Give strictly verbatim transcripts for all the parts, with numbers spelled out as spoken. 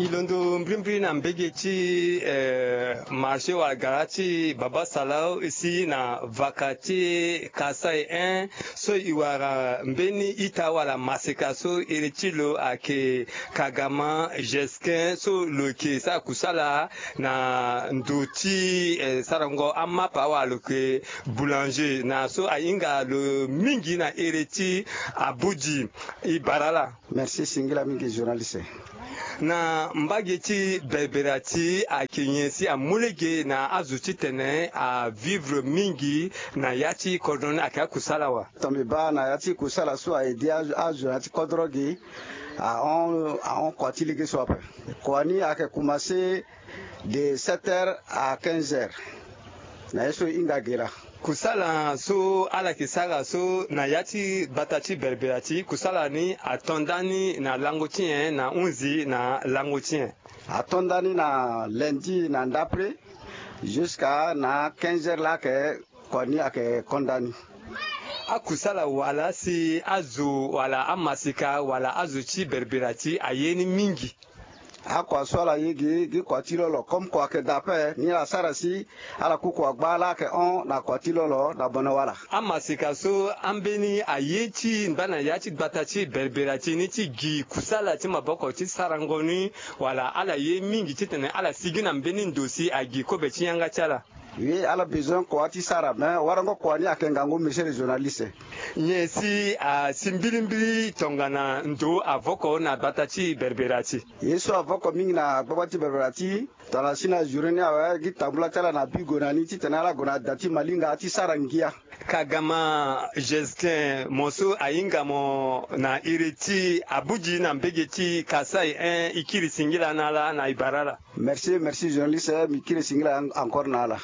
E londo mbrimbri na mbege ti, eh, marché wala gara ti Baba Salau, si na vaka ti Kasaï un, so e wara mbeni ita wala maseka so ere ti lo ayeke Kagama Jesquin, so lo yeke sara kusala na ndo ti, eh, sarango amapa wala lo yeke boulanger, na so ahinga lo mingi na ere ti Abuji. E bara ala. Merci, singila mingi journaliste. Na mbage ti Berbera ti ayeke nyen si amu lege na azo titene avivre mingi na ya ti kodro ni, ayeke akusala wa? Tongana mbi baa na ya ti kusala so a aidé azo, azo na ya ti kodro gi, ahon, ahon kua ti lege so ape. Kua ni ayeke commencé de sept heures à quinze heures. Na ye so e hinga ge laa. Kusala so ala yeke sara so na ya ti gbata ti Berbera ti, kusala ni ato ndani na lango ti nyen na hunzi na lango ti nyen? Ato ndani na lundi na ndapre, jusqu'à na quinze heures laa ayeke kua ni ayeke ko ndani. Akusala wala si azo wala amaseka wala azo ti Berbera ti aye ni mingi? Akua so ala ye gi, gi kua ti lo lo, comme kua ayeke da ape, ni ala sara si ala ku kua gbaa laa ayeke hon na kua ti lo lo na bono wala. Amaseka so ambeni aye ti ngba na ya ti gbata ti Berbera ti ni ti gi kusala ti maboko ti sarango ni, wala ala ye mingi titene ala sigi na mbeni ndo si agi kobe ti yanga ti ala? Oui, ala besoin kua ti sara, me warango kua ni ayeke ngangu, monsieur le journaliste. Nyen si asi mbilimbili tongana ndo avoko na gbata ti Berbera ti? Ye so avoko mingi na gbagba ti Berbera ti, tongana si na journée ni awe, gi tambula ti ala na bi gue na ni titene ala gue na da ti malinga ti sara ngia. Kagama Justin, mo so ahinga mo na iri ti Abuji na mbege ti Kasaï un, e kiri singila na ala na e bara ala. Merci, merci journaliste, mbi kiri singila en-, encore na ala.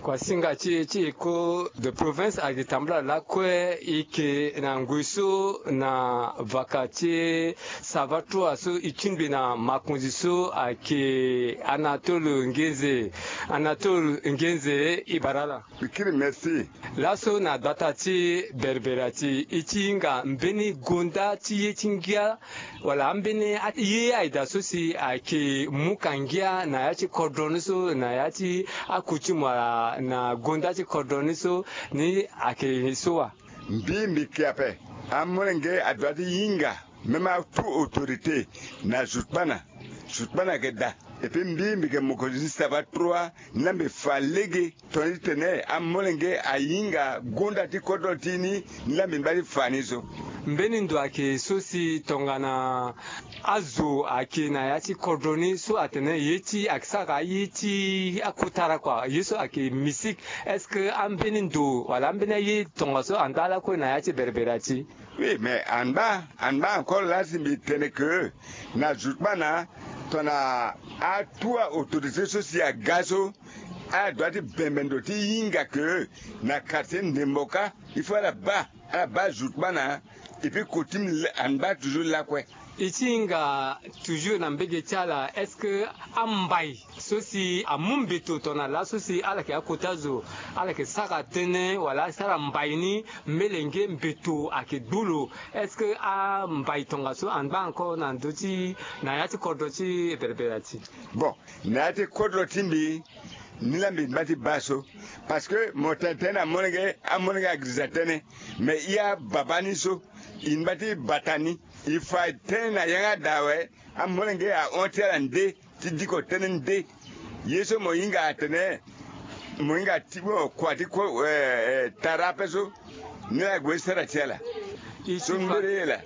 Kuasinga ti e ti eko de province ayeke tambula lakue, e yeke na ngoi so na vaka ti savatroa so e tingbi na makonzi so ayeke Anatole Ngenze. Anatole Ngenze, e bara ala. Mbi kiri merci. Laso na gbata ti Berbera ti, e ti hinga mbeni gonda ti ye ti ngia, wala ambeni a-, ye ayeda so si ayeke mu ka ngia na ya ti kodro ni so, na ya ti akoutume wala na gonda ti kodro ni so, ni ayeke so wa? Mbi, mbi ke ape. Amolenge adoit ti hinga, même atout autorité, na Zutukpana. Zutukpana ayeke da. Et puis mbi, mbi yeke mokonzi ti savatroa, ni laa mbi fa lege, tongana ti tene amolenge ahinga gonda ti kodro ti ni, ni laa mbi ngba ti fa ni so. Mbeni ndo ayeke so si tongana azo ayeke na ya ti kodro ni so atene ye ti ayeke sara ye ti akotara kua, ye so ayeke misik. Est-ce que ambeni ndo wala ambeni aye tongaso anda lakue na ya ti Berbera ti? Oui, mais angba, angba encore laa si mbi tene que na Zutukpana, tongana atout autorité so si aga so, adoit ti bembe ndo ti hinga que na quartier Ndemboka, il faut ala baa, ala baa Zutukpana, et puis coutume angba toujours lakue. E ti hinga toujours na mbege ti ala, est-ce que ambai so si amu mbeto tongana laso si ala yeke akota zo, ala yeke sara tënë wala asara mbai ni, melenge mbeto ayeke gbu lo? Est-ce que ambai tongaso angba encore na ndö ti, na ya ti kodro ti Berbera ti? Bon, na ya ti kodro ti mbi, ni laa mbi ngba ti baa so. Parce que mo tene tënë na amolenge, amolenge agirisa tënë. Mais e ababa ni so, e ngba ti bata ni. E fa tënë na yanga daa awe, amolenge ahon ti ala nde, ti diko tënë nde. Ye so mo hinga atene, mo hinga ti mo kua ti ko, eh, eh, tara ape so, ni laa ague ti sara ti ala. So mbere ye laa.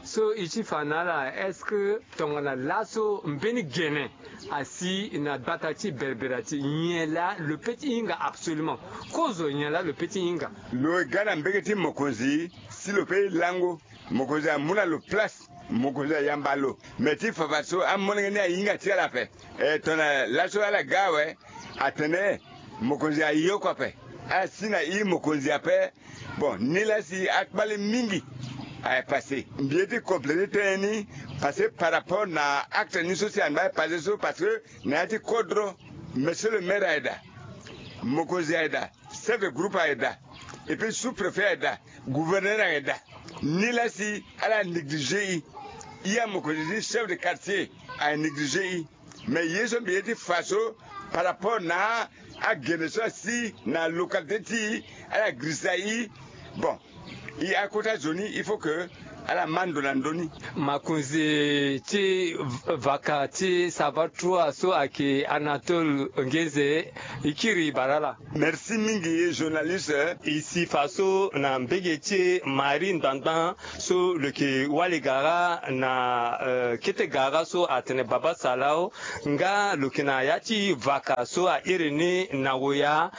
So e ti fa na ala, est-ce que tongana laso mbeni gene asi na gbata ti Berbera ti, nyen laa lo peut ti hinga absolument? Kozo nyen laa lo peut ti hinga? Lo ga na mbege ti mokonzi, si lo peut lango, mokonzi amu na lo place, mokonzi ayamba lo. Mais ti fafa so amolenge ni ahinga ti ala ape. Eh, tongana laso ala ga awe, atene mokonzi aye oko ape. Asi na iri mokonzi ape. Bon, ni laa si akpale mingi aye passé. Mbi ye ti compléter tënë ni, parce que par rapport na acte ni so si angba aye passé so, parce que na ya ti kodro, monsieur le maire ayeda, mokonzi ayeda, chef de groupe ayeda, et puis sous-préfet ayeda, gouverneur ayeda. Ni laa si ala négliger e. Ye amokonzi ti chef de quartier a négligé i. Mais ye so mbi ye ti fa so par rapport na agene so asi na localité ti ala grisa i. Bon, i akota zo ni il faut que ala ma ndo na ndö ni. Makonzi ti vaka ti sava trois so ayeke Anatole Ngeze, i kiri bara ala. Merci mingi journaliste. I si fa so na mbege ti Marie Ngbangban so lo yeke wali gara na kete gara so atene Baba Salao, nga lo yeke na ya ti vaka so a iri ni na woya.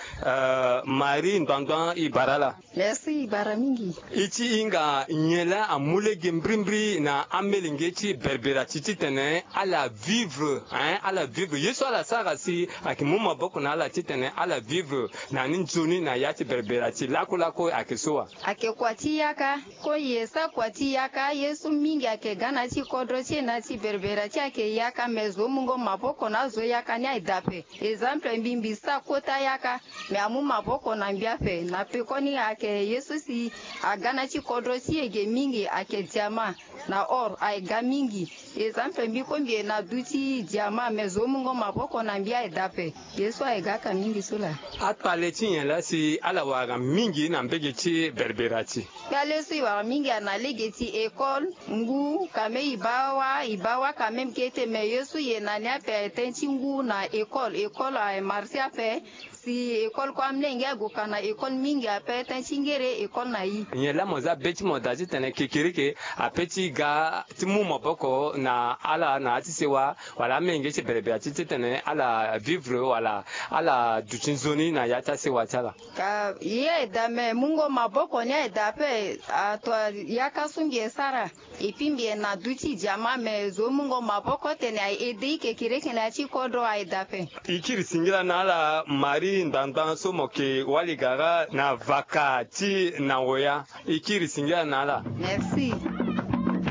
Marie Ngbangban, i bara ala. Merci, i bara mingi. I ti hinga nyen laa amu lege mbirimbiri na amelenge ti berbera ti titene ala vivre, hein, ala vivre ye so ala sara si ayeke mu maboko na ala titene ala vivre na ni nzoni na ya ti berbera ti lakolako ayeke so wa? Ayeke kua ti yaka. Ko ye sa kua ti yaka ye so mingi ayeke ga na ya ti kodro ti e na ya ti berbera ti e ayeke yaka me zo mungo maboko na azo yaka ni aye daa ape. Exemple mbi mbi sa kota yaka me amu maboko na mbi ape na pekoni ayeke ye so si aga na ya ti kodro ti e ge mingi ayeke diama na or aye ga mingi. Exemple mbi ko mbi ye na du ti diama me zo mungo maboko na mbi aye daa ape. Ye so aye ga aka mingi so laa. Akpale ti nyen laa si ala wara mingi na mbege ti berbera ti? Kpale so e wara mingi ana lege ti école ngu kame e baa wa e baa wa kame mbi kete me ye so e ye na ni ape aye ten ti ngu na école école aye marché ape. Si école kue amlenge ague ka na école mingi ape ten ti ngere école na i. Nyen laa mo za be ti mo daa titene kekereke ape ti ga ti mu maboko na ala na ya ti sewa wala amenge ti berebere ti titene ala vivre wala ala duti nzoni na ya ti asewa ti ala? Ka ye aye daa me mungo maboko ni aye daa ape. Ato yaka so mbi ye sara. Epi mbi ye na du ti diama me zo mungo maboko tene aye ede i kekereke na ya ti kodro aye daa ape. I kiri singila na ala Marie Ngbangban so mo ke wali gara na vaka ti na woya. I kiri singila na ala. Merci.